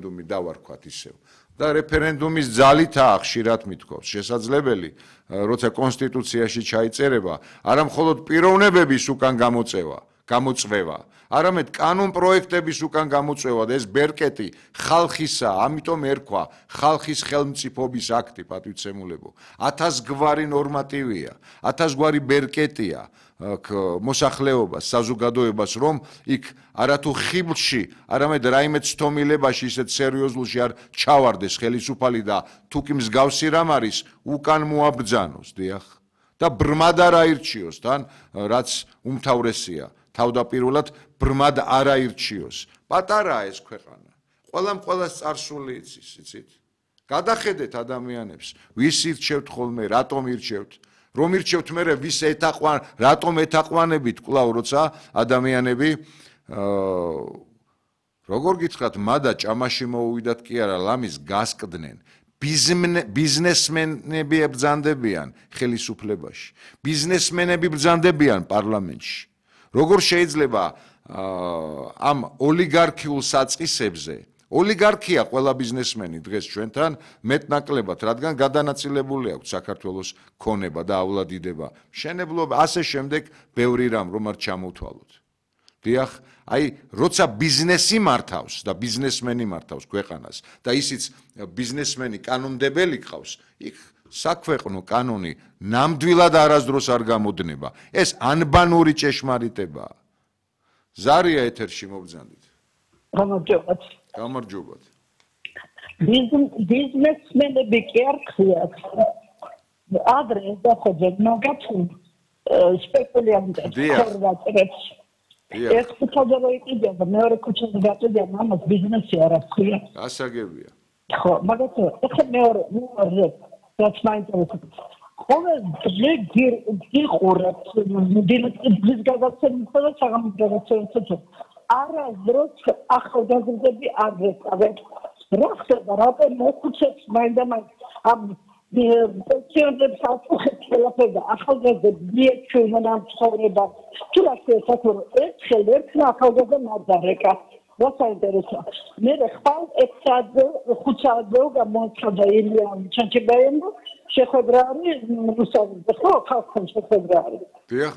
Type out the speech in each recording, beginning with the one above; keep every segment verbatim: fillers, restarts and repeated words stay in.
რეფერენდუმი დავარქვათ ისევ. და რეფერენდუმის ძალითაა ხშირად მithქვავს შესაძლებელი, როცა კონსტიტუციაში ჩაიწერება, არა მხოლოდ პიროვნებების უკან გამოწევა, გამოწვევა, არამედ კანონ პროექტების უკან გამოწვევა და ეს ბერკეტი ხალხისა, ამიტომ ერქვა ხალხის ხელმწიფობის აქტი, პატივცემულებო. ათასგვარი ნორმატივია, ათასგვარი ბერკეტია მოსახლეობას, საზოგადოებას, რომ იქ არათუ ხიბლში, არამედ რაიმე ცდომილებაში ისეთ სერიოზულში არ ჩავარდეს ხელისუფალი და თუ კი მსგავსი რამ არის, უკან მოაბრძანოს, დიახ. და ბრმად არ აირჩიოს თან, რაც უმთავრესია. თავდაპირველად ბრმად არ აირჩიოს. პატარაა ეს ქვეყანა. ყველამ ყველას წარსული იცის, იცით? გადახედეთ ადამიანებს, ვის ირჩევთ ხოლმე, რატომ ირჩევთ? რომ ირჩევთ მერე ვის ეთაყვან, რატომ ეთაყვანებით კვლავ როცა ადამიანები როგორ გითხრათ, მადა ჭამაში მოუვიდათ კი არა, ლამის გასკდნენ. ბიზნესმენები ებრძანდებიან ხელისუფლებაში. ბიზნესმენები ბრძანდებიან პარლამენტში. როგორ შეიძლება ამ ოლიგარქიულ საწყისებზე ოლიგარქია ყველა ბიზნესმენი დღეს ჩვენთან მეტნაკლებად, რადგან გადანაწილებული აქვს საქართველოს ქონება და ავლადიდება, მშენებლობა, ასე შემდეგ ბევრი რამ რომ არ ჩამოვთვალოთ. დიახ, აი, როცა ბიზნესი მართავს და ბიზნესმენი მართავს ქვეყანას და ისიც ბიზნესმენი კანონმდებელი ყავს, იქ საქვეყნო კანონი ნამდვილად არასდროს არ გამოდნება. ეს ანბანური ჭეშმარიტებაა. ზარია ეთერში მოგზანდით. გამარჯობათ. გამარჯობათ. ბიზნესმენები კი არ ხიათ. ადრე დაходят მაგათი სპეკულიანტებს ხორვატებს. ეს ხუთი როიტია და მეორე ქუჩაზე გაწევდა მამას ბიზნესი არ აქვს. გასაგებია. ხო, მაგათი ახლა მეორე მეორე რაც მაინტერესებს. ყოველ დღე გიყურებთ დილის გადაცემასა და საღამოს გადაცემასა. არასდროს ახალგაზრდები არ გეწავეთ. რა ხდება, რატომ მოხუცებს მაინდა-მაინც ამ პენსიონერებს აწუხებს ყველაფერი და ახალგაზრდები მიეჩვენენ ამ ცხოვრებას. თუ რა შეიძლება, ერთხელ ერთმა ახალგაზრდა მარდარეკა. რა საინტერესოა. მე ხვალ ექვს საათზე, ხუთ საათზე გამოაცხადა ილია ჩანჩებაიემ შეხვედრა არის რუსთავზე, ხო, ხალხთან შეხვედრა არის. დიახ.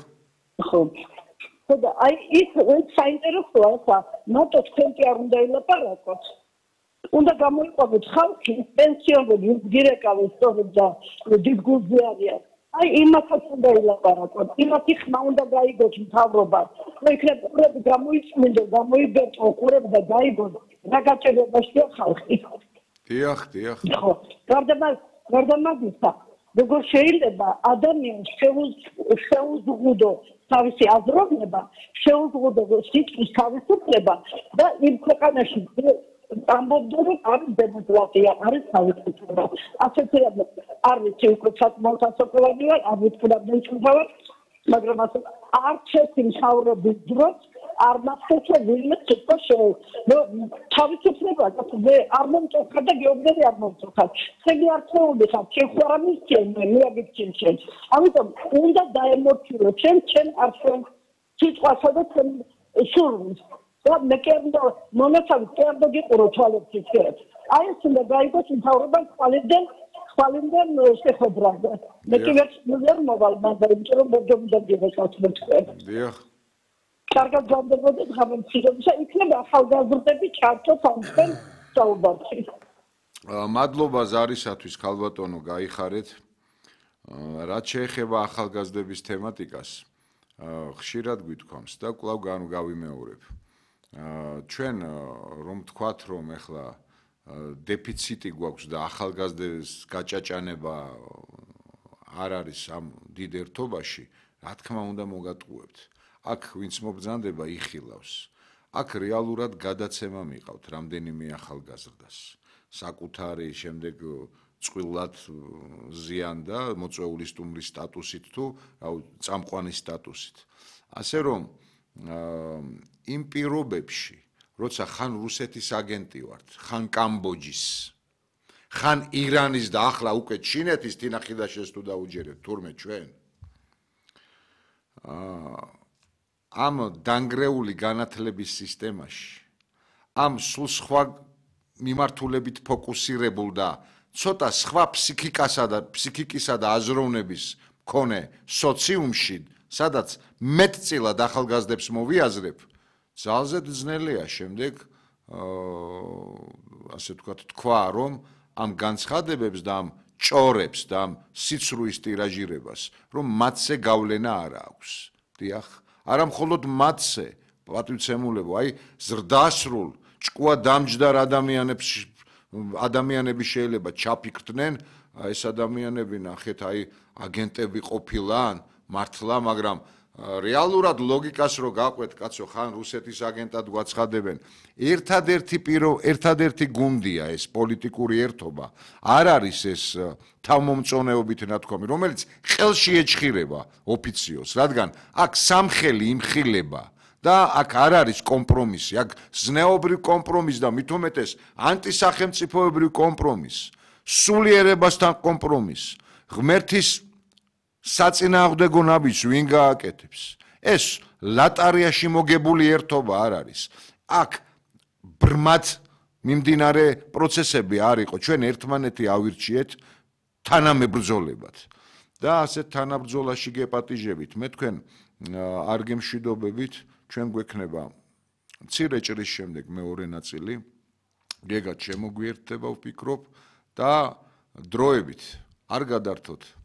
ხო. და აი ის საინტერესოა ხა, მარტო თქვენკი არ უნდა ელაპარაკოთ. უნდა გამოიყვანოთ ხალხი, პენსიონერები, დირექტორები, სწორედ და დიდგულზე არიან. აი იმასაც უნდა ელაპარაკოთ, იმათი ხმა უნდა გაიგოთ მთავრობა. რომ იქნებ ყურები გამოიწმინდო, გამოიბერტო ყურები და გაიგოთ, რა გაჭირებაშია ხალხი. დიახ, დიახ. ხო, გარდა გარდა მაგისა, როგორ შეიძლება ადამიანს შეუზღუდო თავისი აზროვნება, შეუზღუდო სიტყვის თავისუფლება და იმ ქვეყანაში ამბობდო, რომ არის დემოკრატია, არის თავისუფლება. ასეთი რამე არ ვიცი, უკვე საკმაოდ ასაკოვანი ვარ, არ ვიტყუდა ჩუმთავარ, მაგრამ ასე არც ერთი მთავრობის დროს არ მახსოვს ვინმე თქვა შეუ. თავისუფლება და არ მომწონხარ და გეუბნები არ მომწონხარ. ხელი არ თხოვდიხარ, შეხوارა მისცენ, მე აგიქცენ შენ. ამიტომ უნდა დაემორჩილო შენ შენ არჩევ სიტყვასა და შენ სურვილს. და მე კიდე მონაცავი კიდე გიყურო თვალებს ისეთ. აი ეს უნდა გაიგოს მთავრობა ხვალიდან ხვალიდან შეხვედრაზე. მე კიდე ვერ მოვალ მაგრამ იმიტომ რომ მოგდომიდან გიყავთ თქვენ. დიახ. კარგად გამდებოდეთ გამომცირებისა, იქნება ახალგაზრდები ჩართოთ ამხელ საუბარში. მადლობა ზარისათვის, ქალბატონო, გაიხარეთ. რაც შეეხება ახალგაზრდების თემატიკას, ხშირად გვითქვამს და კვლავ გავიმეორებ. ჩვენ რომ თქვათ, რომ ეხლა დეფიციტი გვაქვს და ახალგაზრდების გაჭაჭანება არ არის ამ დიდ ერთობაში, რა თქმა უნდა მოგატყუებთ. აქ ვინც მობრძანდება იხილავს. აქ რეალურად გადაცემა მიყავთ რამდენიმე ახალგაზრდას. საკუთარი შემდეგ წყვილად ზიან და მოწვეული სტუმრის სტატუსით თუ წამყვანის სტატუსით. ასე რომ იმ პირობებში, როცა ხან რუსეთის აგენტი ვართ, ხან კამბოჯის, ხან ირანის და ახლა უკვე ჩინეთის თინახიდაშეს თუ დაუჯერებთ თურმე ჩვენ. ამ დანგრეული განათლების სისტემაში, ამ სულ სხვა მიმართულებით ფოკუსირებულ და ცოტა სხვა ფსიქიკასა და ფსიქიკისა და აზროვნების მქონე სოციუმში, სადაც მეტწილად ახალგაზრდებს მოვიაზრებ, ძალზედ ძნელია შემდეგ ასე ვთქვათ, თქვა, რომ ამ განცხადებებს და ამ ჭორებს და ამ სიცრუის ტირაჟირებას, რომ მათზე გავლენა არ აქვს. დიახ, არა მხოლოდ მათზე, პატივცემულებო, აი ზრდასრულ, ჭკუა დამჯდარ ადამიანებს ადამიანები შეიძლება ჩაფიქრდნენ, ეს ადამიანები ნახეთ, აი აგენტები ყოფილან, მართლა, მაგრამ რეალურად ლოგიკას რო გაყვეთ, კაცო, ხან რუსეთის აგენტად გვაცხადებენ. ერთადერთი პირო, ერთადერთი გუნდია ეს პოლიტიკური ერთობა. არ არის ეს თავმომწონეობით ნათქვამი, რომელიც ხელში ეჭხირება ოფიციოს, რადგან აქ სამხელი იმხილება და აქ არ არის კომპრომისი, აქ ზნეობრივ კომპრომის და მით უმეტეს ანტისახელმწიფოებრივ კომპრომის, სულიერებასთან კომპრომის, ღმერთის საწინააღმდეგო ნაბიჯს ვინ გააკეთებს? ეს ლატარიაში მოგებული ერთობა არ არის. აქ ბრმად მიმდინარე პროცესები არ იყო. ჩვენ ერთმანეთი ავირჩიეთ თანამებრძოლებად და ასეთ თანაბრძოლაში გეპატიჟებით. მე თქვენ არ გემშვიდობებით, ჩვენ გვექნება მცირე ჭრის შემდეგ მეორე ნაწილი. გეგა შემოგვიერთდება, ვფიქრობ და დროებით არ გადართოთ